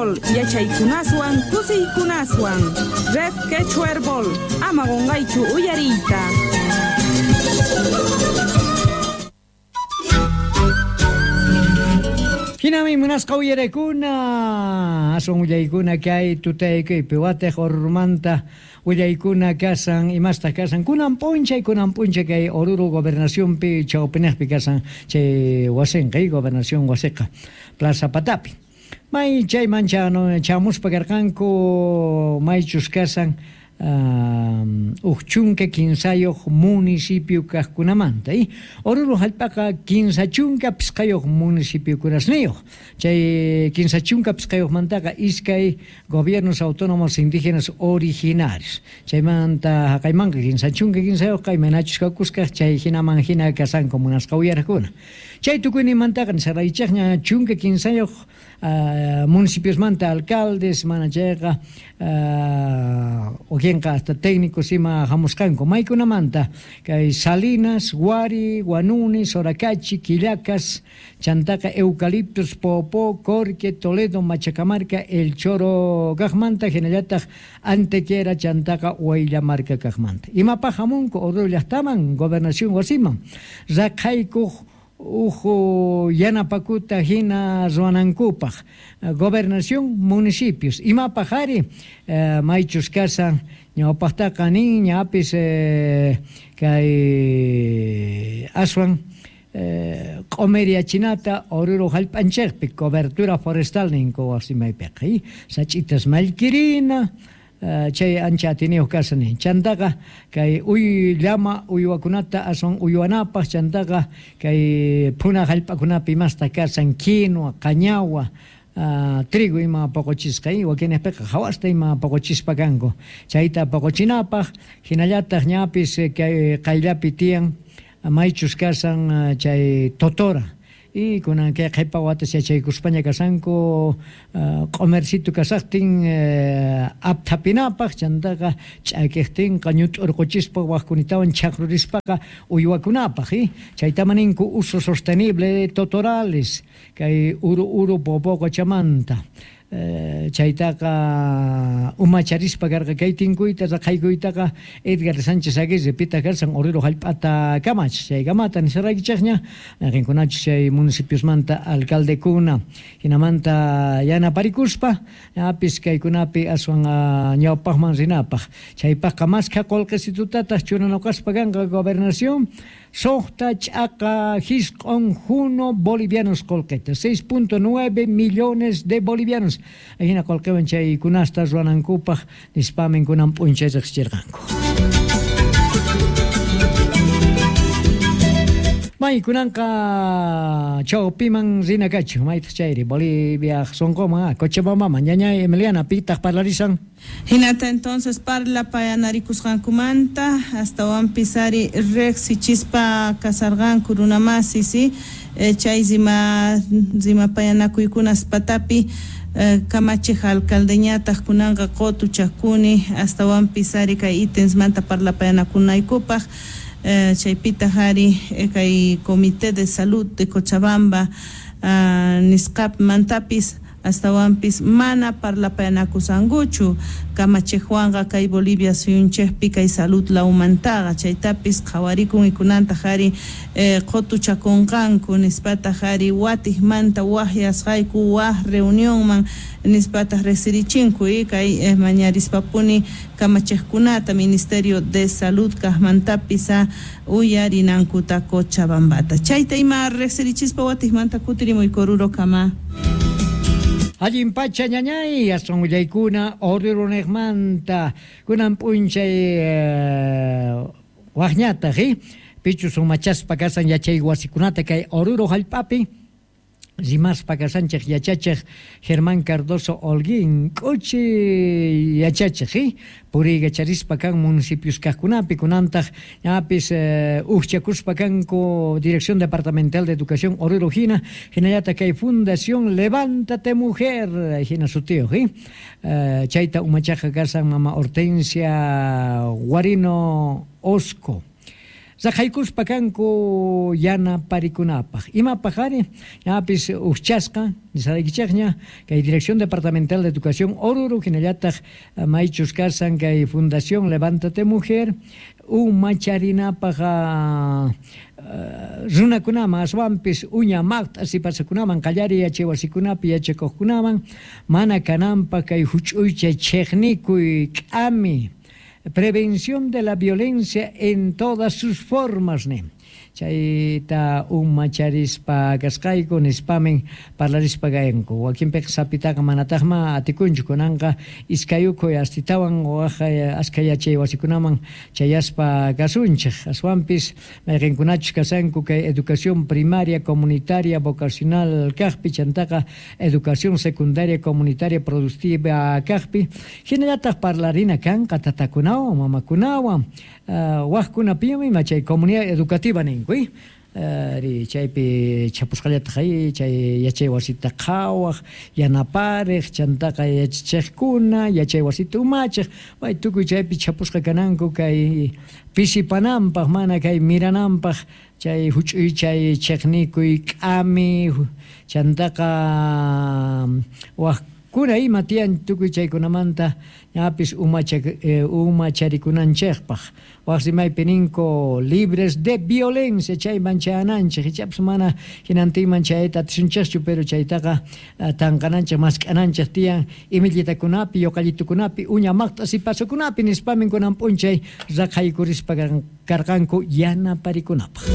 Herbol yachaykunaswan kusiykunaswan. Red Quechua Herbol ama qunqaychu uyariyta. Hinami munasqa uyarakuna, aswan willaykuna kay tutaykuypi watiq Orurumanta willaykuna kasan, imastaq kasan, kunan p'unchay, kunan p'unchay kay Oruro gobernacionpi chawpiniqpi kasan chay wasinqa, gobernación wasiqa, Plaza Patapi. May chayman chamuspa karqanku maychus kasan uj chunka kinsayuq municipio kaqkunamanta. Oruro hallp'aqa 35 municipiokunasniyuq. Chay 35mantaqa iskay gobiernos autónomos indígenas originarios. Chaymanta haqaymanqa 33yuqqa imaynachus kakusqaq chay hinaman hina kasanku munasqa uyaraqkuna. Chay tukuyninmantaqa nisaraychaqña 13 municipiosmanta alcaldes, mana chayqa wakinqa hasta técnicos ima hamusqanku maykunamanta kay Salinas, Huari, Huanuni, Soracachi, Quillacas, chantaqa Eucaliptus, Popó, Corque, Toledo, Machacamarca, El Choro kaqmanta, hinallataq Antequera, chantaqa Huayllamarca kaqmanta. Imapaq hamunku Oruro llaqtaman, gobernación wasiman, raqhaykuq uj yanapakuta hina ruwanankupaq gobernación municipios. Imapaq ari maychus kasan ñawpaqtaqa nin ñapis kay aswan q'umiriachinata Oruro hallp'anchikpi cobertura forestal ninku wasimaypiqa, sach'itas mallkirina, chay ancha atiniyuq kasan nin. Chantaqa kay uy llama uywakunata aswan uywanapaq, chantaqa kay phuna hallp'akunapi imasta kasan quinoa, qañawa, trigo ima poqochisqa, wakinpiqa hawasta ima poqochispa kanku. Chayta poqochinapaq, hinallataq ñapis kay qayllapi tiyan maychus kasan chay totora. Y kunan kay qhipa watas yachaykuspaña kasanku q'umercito kasaqtin apthapinapaq, chantaqa ch'akiqtinqa ñut'urquchispa waqkunitawan chaqrurispaqa uywakunapaq, chaytama ninku uso sostenible de totorales kay uru uru Popó qochamanta. Chaytaqa umacharispa karqa kay tinkuyta raqhaykuytaqa Edgar Sánchez Aguirre pita karsan Oruro hallp'ata kamach chaykamata nisaraykichaqña qinkunachus chay municipiosmanta alcaldekuna hinamanta yanaparikuspa apis kaykunapi aswan ñawpaqman rinapaq chaypaqqa maskha qullqisitutataq churanakuspa kanqa gobernación 6.9 bolivianos qullqita, 6.9 millones de bolivianos. Ajina qullqiwan chaykunasta ruwanankupaq nispamin kunan p'unchay riqsichirqanku. May kunanqa chawpiman rina kachu, maytaq chayri Bolivia sunquman, Cochabambaman, ñañay Emiliana pitaq parlarisan. Hinata entonces parlapayanarikusqankumanta astawanpis ari riqsichispa kasarqanku runamasi, si chay rimapayanakuykunas patapi kamachiq alcaldeñataq kunanqa qutuchakuni astawanpis ari kay ítemsmanta parlapayanakunaykupaq. Chaypitaq ari kay Comité de Salud de Cochabamba nisqapmantapis astawanpis mana parlapayanakusankuchu kamachiqwanqa kay Bolivia suyunchikpi kay salud lawmantaqa chaytapis qhawarikun ikunantaq ari qutuchakunqanku nispataq ari watiqmanta waqyasqayku waq reunionman nispataq riqsirichinku kay mañarispapuni kamachiqkunata Ministerio de Salud kaqmantapis uyarinankuta Cochabambata chayta ima riqsirichispa watiqmanta kutirimuyku Oruro kama. Allin pacha ñañay, aswan willaykuna Oruruniqmanta kunan p'unchay waqñataq, pichus umachaspa kasan yachay wasikunata kay Oruro hallp'api rimaspa kasanchik yachachiq Germán Cardoso Holguín k'uchi yachachiq, puriykacharispa kan municipios kaqkunapi kunantaq ñapis ujchakuspa kanku Dirección Departamental de Educación Oruro hina hinallataq kay Fundación Levántate Mujer hina sutiyuq, chayta umachaqa kasan mama Hortensia Guarino Osco. Raqaykuspa kanku yanaparikunapaq. Imapaq ari? Ñapis ujchasqa, nisaraykichikña, kay Dirección Departamental de Educación Oruro, hinallataq maychus kasan kay Fundación Levántate Mujer, umacharinapaq runakunaman aswanpis uña maqt'a sipasakunaman qallariy yachay wasikunapi yachakuqkunaman mana kananpaq kay huch'uycha chiqnikuy k'ami. Prevención de la violencia en todas sus formas, nin. Chayta umacharispa kasqayku nispamin parlarispa kayanku. Wakinpiqa sapitaqa manataqma atikunchu kunanqa iskayukuy astitawan waj askha yachay wasikunaman chayaspa kasunchik. Aswanpis mayqinkunachus kasanku kay educación primaria comunitaria vocacional kaqpi chantaqa educación secundaria comunitaria productiva kaqpi hinallataq parlarina kanqa tatakunawan mamakunawan waqkunapiymi ima chay comunidad educativa ninku ri chaypi chapusqallataq chay yachay wasita qhawaq yanapariq chantaqa yachachiqkuna yachay wasita umachiq may tukuy chaypi chapusqa kananku kay pisipananpaq mana kay mirananpaq chay huch'uy chay chiqnikuy k'ami chantaqa waqkuna ima tiyan tukuy chaykunamanta ñapis umacharikunanchikpaq waq rimaypi ninku libres de violencia chayman chayananchik ichapas mana hinantinman chayayta atisunchikchu pero chaytaqa tanqananchik mask'ananchik tiyan imillitakunapi yuqallitukunapi uña maqt'a sipasukunapi nispamin kunan p'unchay raqaykurispa karqanku yanaparikunapaq.